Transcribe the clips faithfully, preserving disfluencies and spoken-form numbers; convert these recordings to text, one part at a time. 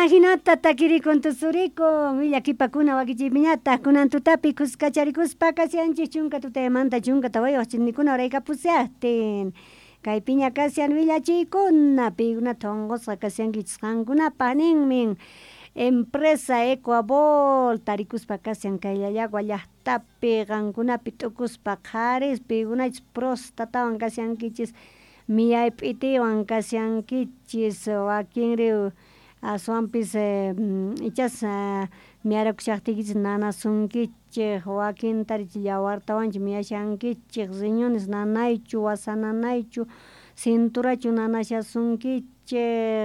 Ajinata takirikun tusurikun willakipakuna wakichiypiñataq kunan tutapi kuskacharikuspa kashanchik chunka tutaymanta chunka tawayuq chinikuna uraykapushaqtin kaypiña kashan willachiykuna paykunata unqusqa kashankichis qankunapaq ninmin empresa Ecuabol tarikuspa kashan kay Llallagua llaqtapi qankunapi t'ukuspa qharis paykunachus prostatawan kashankichis miyay p'itiwan kashankichis wakinri aswanpis ichas miyarakushaqtiykichis nanasunkichik wakintari yawartawanchu miyashankichik riñones nanaychu wasa nanaychu cinturachu nanashasunkichik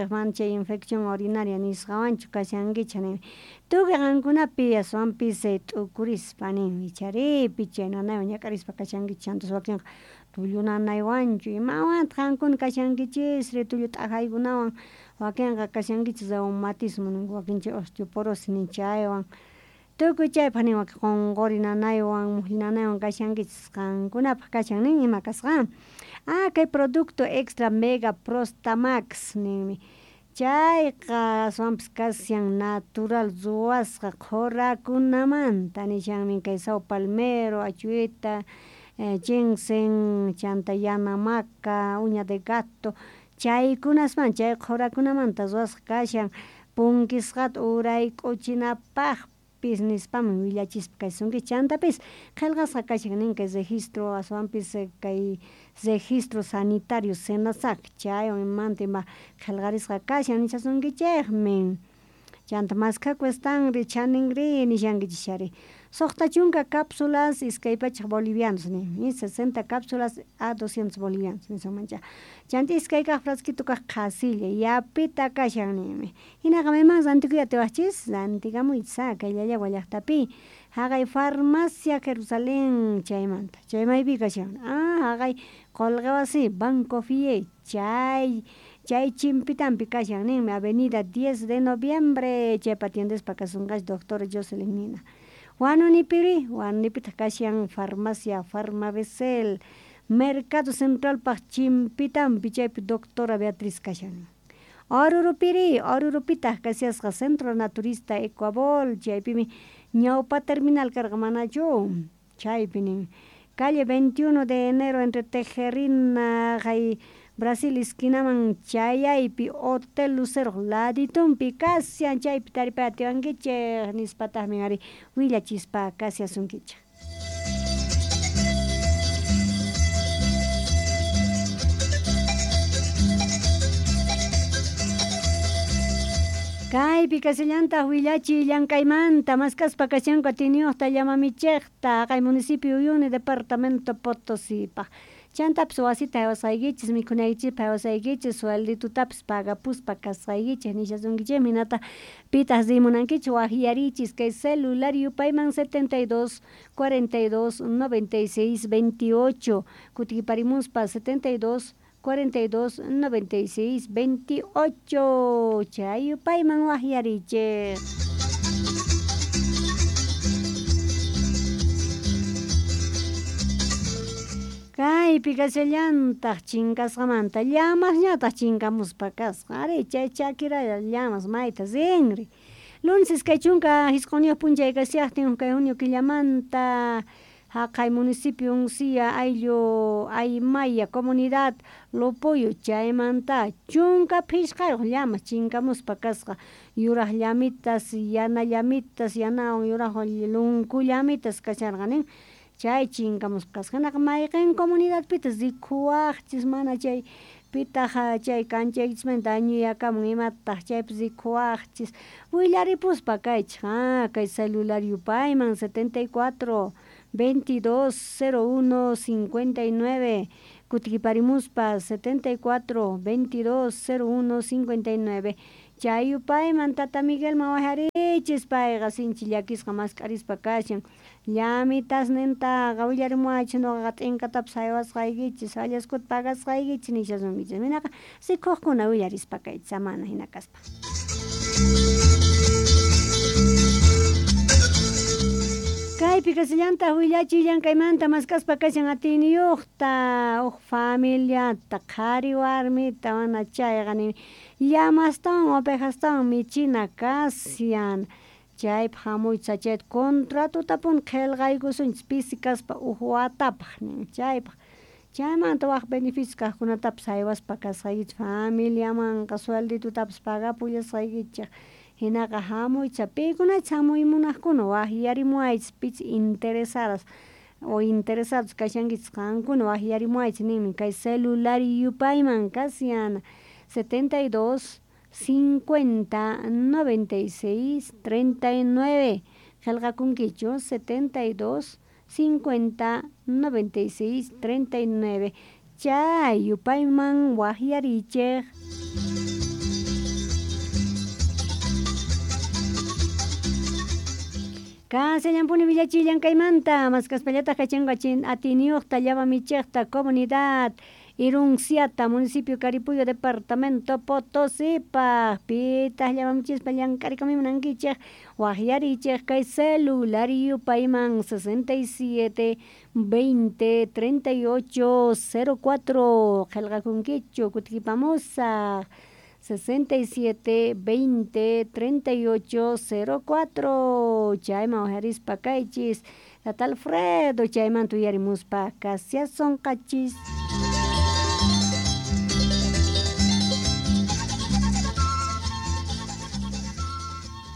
mana chay infección urinaria nisqawanchu kashankichik nin tukuy qankunapi aswanpis t'ukurispa nin ichari pichay nanaywan ñak'arispa kashankichik chantas wakinqa tullu nanaywanchu imawantaq qankuna kashankichisri tullu t'ajaykunawan wakinqa kashankichis reumatismo ninku wakin chay osteoporosis nin chaywan tukuy chaypaq nin wakin qunquri nanaywan muqlli nanaywan kashankichis qankunapaq kashan nin ima kasqa ah kay producto extra mega prostamax ninmi chayqa aswanpis kashan natural ruwasqa qhurakunamanta nishanmin kay saw palmero achueta ginseng chanta yana maca uña de gato chaykunasman chay qhurakunamanta ruwasqa kashan punkisqata urayk'uchinapaqpis nispaman willachispa kaysunkichis chantapis qillqasqa kashan nin kay registro aswanpis kay registro sanitario SENASAC chaywan imamanta ima qillqarisqa kashan nishasunkichikmi chanta maskhaku estanri chaninri nishankichis suqta chunka cápsulas iskay pachak bolivianos ninmi sesenta cápsulas a doscientos bolivianos nisunmancha chanta iskay kaq frasquito kaq qhasilla yapita kashan ninmi hinaqa maymanmi rantikuy atiwaqchis rantikamuychis kay Llallagua llaqtapi haqay farmacia Jerusalén chaymanta chay maypi kashan ah haqay qullqi wasi Banco Fie chay chay chimpitampi kashan ninmi avenida diez de noviembre chaypa atiendespa kasunqachu doctora Jocelyn nina Huanunipiri, Huanunipitaq kashan farmacia Farmabecel, Mercado Centralpaq chimpitampi chaypi doctora Beatriz kashan. Orurupiri, Orurupitaq kashasqa Centro Naturista Ecuabol, chaypimi ñawpa terminal karqa manachu, chaypi nin. Calle veintiuno de enero entre Tejerina, hay Brasil esquinaman chayaypi Hotel Lucero laditumpi kashan chaypi taripay atiwankichik nispataqmi ari willachispa kashasunkichik. Kaypi kashallantaq willachiy llank'aymanta maskaspa kashanku atiniyuqta llamamichiqta haqay municipio Uyuni departamento Potosipaq chantapis wasita haywasqaykichis mikhunaykichikpaq haywasqaykichis suelditutapis pagapuspa kasqaykichik nishasunkichikmi hinataq pitaq rimunankichik waqyarichis kay celular yupayman setenta y dos cuarenta y dos noventa y seis veintiocho kutikiparimuspa setenta y dos cuarenta y dos noventa y seis veintiocho chay yupayman waqyarichik. Kaypi kashallantaq chinkasqamanta llamasñataq chinkamuspa kasqa ari chay chakiralla llamas mayta rinri lunes iskay chunka hisquniyuq p'unchay kashaqtin kay junio killamanta haqay municipio Uncía ayllu Aymaya comunidad Lopoyo chaymanta chunka phisqayuq llamas chinkamuspa kasqa yuraq llamitas yana llamitas yanawan yuraqwan lunku llamitas kasharqa nin chay chinkamuspa kasqa hinaqa mayqin comunidadpitas rikuwaqchis mana chay pitaq chay kanchaykichismanta añuyakamun imataq chaypis rikuwaqchis willaripuspa kaychik ah kay celular yupayman setenta y cuatro veintidós cero uno cincuenta y nueve kutikiparimuspa setenta y cuatro veintidós cero uno cincuenta y nueve chay yupayman tata Miguelman waqyarichis payqa sinchi llakisqa mask'arispa kashan llamitasnintaqa willarimuwaychis nuqaqa t'inkatapis haywasqaykichis allaskuta pagasqaykichis nishasunkichis minaqa rikuqkuna willarispa kaychis amana hina kaspa. Kay Kaypi kasillantaq willachiy llankaymanta mask'aspa kashan atiyniyuqta huk familiata qhari warmita mana chayqa nin llamastawan ovejastawan michina kashan chaypaq hamuychis chayta contratotapuni qhilqaykusunchis pisi kaspa huk watapaq nin chaypaq chaymanta wak beneficios kaqkunatapis haywaspa kasqaykichis familiamanqa suelditutapis pagapullasqaykichis hinaqa hamuychis pikunachus hamuy munaqkuna waqyarimuwaychis pichus interesadas o interesados kashankichis qankuna waqyarimuwaychis ninmi kay celular yupayman kashan setenta y dos, cincuenta, noventa y seis, treinta y nueve qillqakunkichu setenta y dos, cincuenta, noventa y seis, treinta y nueve chay yupayman waqyariychik. Kasallampuni willachiy llankaymanta maskaspallataq kachanqa atiyniyuqta llama michiqta comunidad Irunciata municipio Caripuyo departamento Potosipaq pitaq llama michispa llank'arikamuy munankichik waqyariychik kay celular yupayman sesenta y siete, veinte, treinta y ocho, cero cuatro qillqakunkichu kutikipamusaq sesenta y siete, veinte, treinta y ocho, cero cuatro chayman waqyarispa kaychis tata Alfredo chaymanta uyarimuspa kasiasonqachis.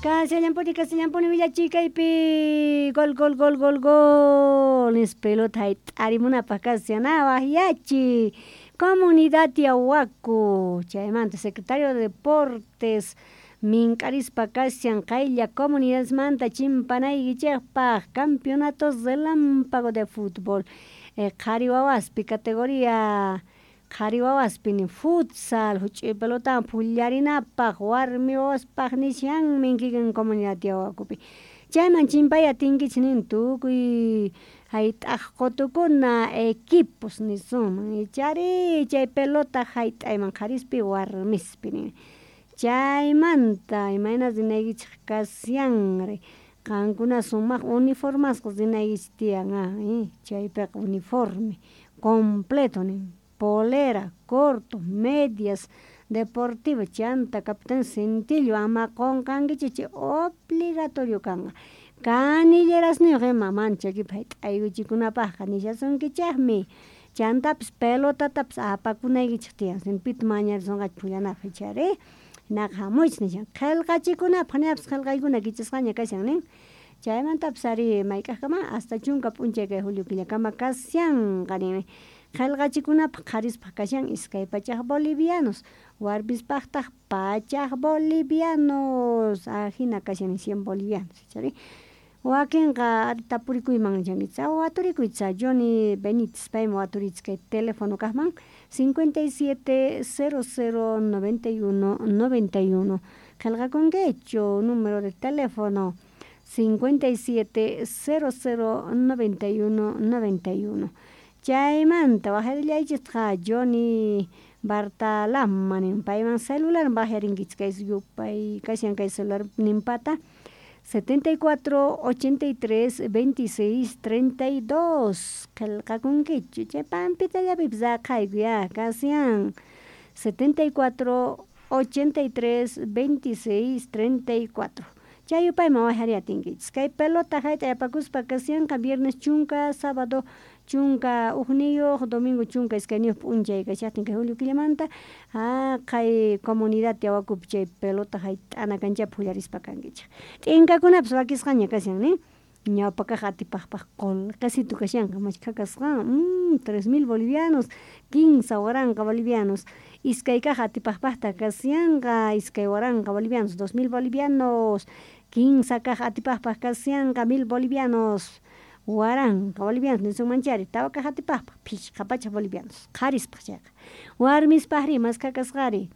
Kasillampuni kasillampuni willachiy kaypi gol gol gol gol gol nispa pelota hayt'arimunapaq kashan waqyachiy comunidad Tiahuaco chaymanta secretario de deportes mink'arispa kashan qaylla comunidadmanta chimpanaykichikpaq campeonatos relámpago de fútbol qhari wawaspi categoría qhari wawaspi futsal huch'uy pelotawan phullarinapaq warmi wawaspaq nishanmi kikin comunidad Tiahuacopi chayman chimpay atinkichis nin tukuy hayt'aq qutukuna equipos nisunman ichari chay pelota hayt'ayman qharispi warmispi nin chaymanta imayna rinaykichik kashanri qankuna sumaq uniformasqa rinaykichis tiyan chaypiqa uniforme completo nin polera, corto, medias deportivas chanta capitán cintillo ama qunqankichikchu obligatorio kanqa canillerasniyuq ima mana chakipi hayt'aykuchikunapaqqa nishasunkichikmi chantapis pelotatapis apakunaykichik tiyan pita mañarisunqachik phullanapaq ichari hinaqa hamuychis nishan qillqachikunapaq ñapis qillqaykuna kichasqaña kashan nin chaymantapis ari mayk'aqkama hasta chunka p'unchay kay julio killakama kashanqa ninmi qillqachikunapaq qharispaq kashan iskay pachak bolivianos warmispaqtaq pachak bolivianos ajina kashan cien bolivianos ichari wakinqa tapurikuyman nishankichis waturikuychis Johnny Benítez paymi waturichis kay teléfono kaqman cincuenta y siete, cero cero, noventa y uno, noventa y uno qillqakunkichu número de teléfono cincuenta y siete, cero cero, noventa y uno, noventa y uno chaymanta waqyarillaychikqa Johnny Bartalama nin payman celular waqyarinkichik kay yupay kashan kay celular ninpata setenta y cuatro, ochenta y tres, veintiséis, treinta y dos qillqakunkichu chay pampitallapipis raqhayku ya kashan setenta y cuatro, ochenta y tres, veintiséis, treinta y cuatro chay yupayman waqyariy atinkichis kay pelota hayt'ay apakuspa kashanqa viernes chunka sábado chunka hukniyuq domingo chunka iskayniyuq p'unchay kashaqtin kay julio killamanta haqay comunidad Tiahuacopi chay pelota hayt'ana kanchapi phullarispa kankichik t'inkakunapis wakisqaña kashan nin ñawpa kaq atipaqpaq qullqisitu kashanqa mashkha kasqan mmm tres mil bolivianos kinsa waranqa bolivianos iskay kaq atipaqpaqta kashanqa iskay waranqa bolivianos dos mil bolivianos kinsa kaq atipaqpaq kashanqa mil bolivianos waranqa bolivianos nisunmanchari tawa kaq atipaqpaq phishqa pachak bolivianos qharispaq chayqa warmispaqri maskha kasqari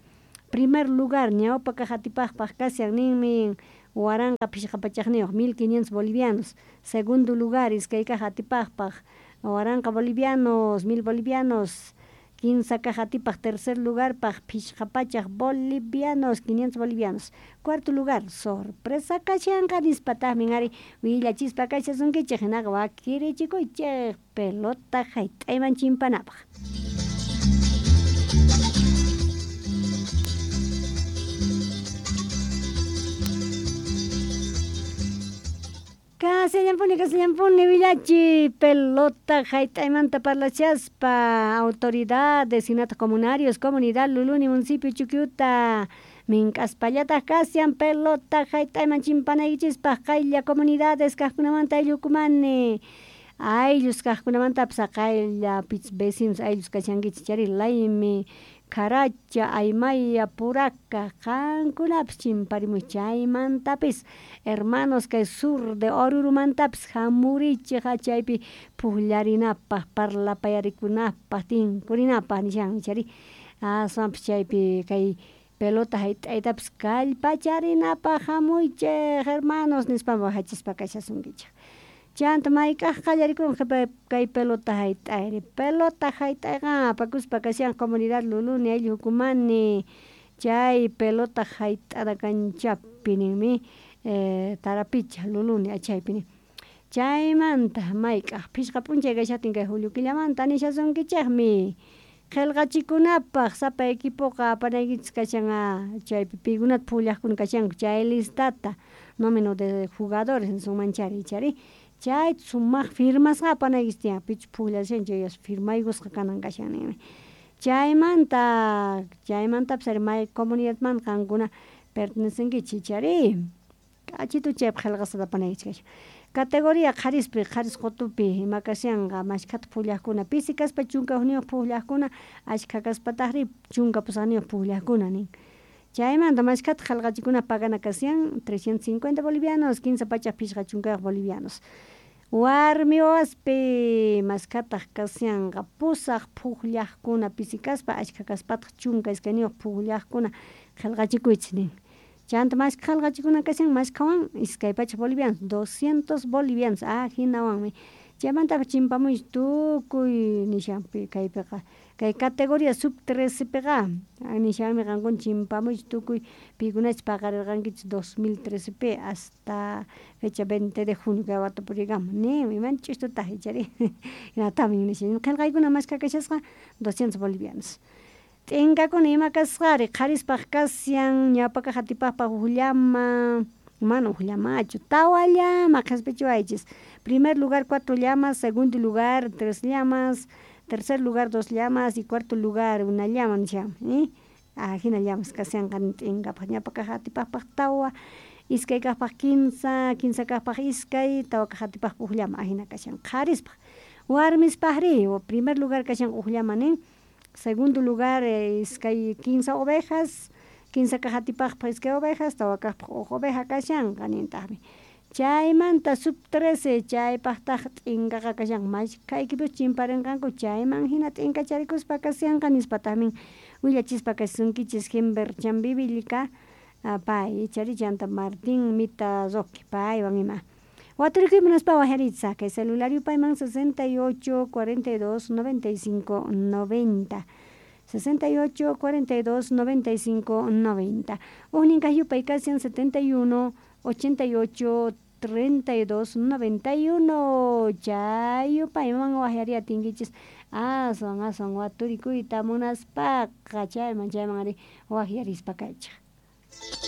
primer lugar ñawpa kaq atipaqpaq kashan ninmi waranqa phishqa pachakniyuq mil quinientos bolivianos segundo lugar iskay kaq atipaqpaq waranqa bolivianos mil bolivianos Kinsa kaj atipaj tercer lugarpaj phishqa pachaj bolivianos, quinientos bolivianos. Cuarto lugar, sorpresa kashanqa nispataqmin ari willachispa kashasunkichej hinaqa wakirichikuychej pelota hayt'ayman chimpanapaj. Kasillampuni, kasillampuni willachi pelota hayt'aymanta parlachaspa autoridades hinataq comunarios comunidad Luluni municipio Chuquiuta mink'aspallataq kashan pelota hayt'ayman chimpanaykichispaq qaylla comunidades kaqkunamanta ayllukumani ayllus kaqkunamantapas qaylla vecinos ayllus kashankichis chari Laymi, Caracha, Aymaya, Puraca, qankunapis chimparimuy chaymantapis hermanos kay sur de Orurumantapis hamurichej chaypi pukllarinapaq parlapayarikunapaq tinkurinapaq nishanmi chari aswanpis chaypi kay pelota hayt'aytapis kallpacharinapaq hamuychej hermanos nispa waqachispa kashasunkichej. Chanta mayk'aj qallarikunqa kay pelota hayt'ayri pelota hayt'ayqa apakuspa kashan comunidad Luluni ayllu hukumani chay pelota hayt'ana kanchapi ninmi eh, Tarapicha Luluni achaypi nin chaymanta mayk'aj phishqa p'unchay kashaqtin kay julio killamanta nishasunkichejmi qillqachikunapaq sapa equipoqa apanaykichis kashan chaypi pikunata pullaqkuna kashanku chay listata número de jugadores nisunmanchari chari chay sumaq firmasqa apanaykichis tiyan pichus pukllashan chay firmaykusqa kanan kashan ninmi chaymanta chaymantapis ari may comunidadmanta qankuna pertenecenkichis chari k'achitu chaypaq qillqasqata apanaykichis kashan categoría qharispi qharis qutupi ima kashanqa mashkhata pullaqkuna pisi kaspa chunka hukniyuq pullaqkuna ashkha kaspataqri chunka pusaqniyuq pullaqkuna nin chaymanta mashkhata qillqachikuna pagana kashan trescientos cincuenta bolivianos kinsa pachaj phishqa chunkayuq bolivianos warmi wawaspi mashkhataq kashanqa pusaq pukllaqkuna pisi kaspa ashkha kaspataq chunka iskayniyuq pukllaqkuna qillqachikuychis nin chanta mashkha qillqachikuna kashan mashkhawan iskay pachaj bolivianos doscientos bolivianos ajinawanmi chaymantapas chimpamuychis tukuy nishanpi kaypiqa kay categoría sub trece piqa nishanmi qankuna chimpamuychis tukuy pikunachus paqarirqankichis dos mil trece pi hasta fecha veinte de junio kay watapurikama ninmi imanta ch'istutaq ichari hinatamin nishan qillqaykuna mashkha kashasqa doscientos bolivianos t'inkakuna ima kasqari qharispaq kashan ñawpa kaq atipaqpaq huk llama mana huk llamachu tawa llama qhispichiwaychis primer lugar cuatro llamas segundo lugar tres llamas tercer lugar dos llamas y cuarto lugar una llama nishanmi ajina llamas kashanqa t'inkapaq ñawpa kaq atipaqpaq tawa iskay kaqpaq kinsa kinsa kaqpaq iskay tawa kaq atipaqpaq huk llama ajina kashan qharispaq warmispaqri primer lugar kashan huk llama nin segundo lugar iskay kinsa ovejas kinsa kaq atipaqpaq iskay ovejas tawa kaqpaq huk oveja kashanqa nintaqmi chaymanta sub trece chaypaqtaq t'inkaqa kashan mashkha equipos chimparinqanku chayman hina t'inkacharikuspa kashanqa nispataqmin willachispa kashasunkichis Jimber Chambivilca pay ichari chanta Martín Mita Roque paywan ima waturikuy munaspa waqyarichis kay celular yupayman sesenta y ocho cuarenta y dos noventa y cinco noventa sesenta y ocho cuarenta y dos noventa y cinco noventa huknin kaq yupay kashan setenta y uno ochenta y ocho treinta y dos noventa y uno chay yupayman waqyariy atinkichis aswan aswan waturikuyta munaspaqa chayman chayman ari waqyarispa kaychej.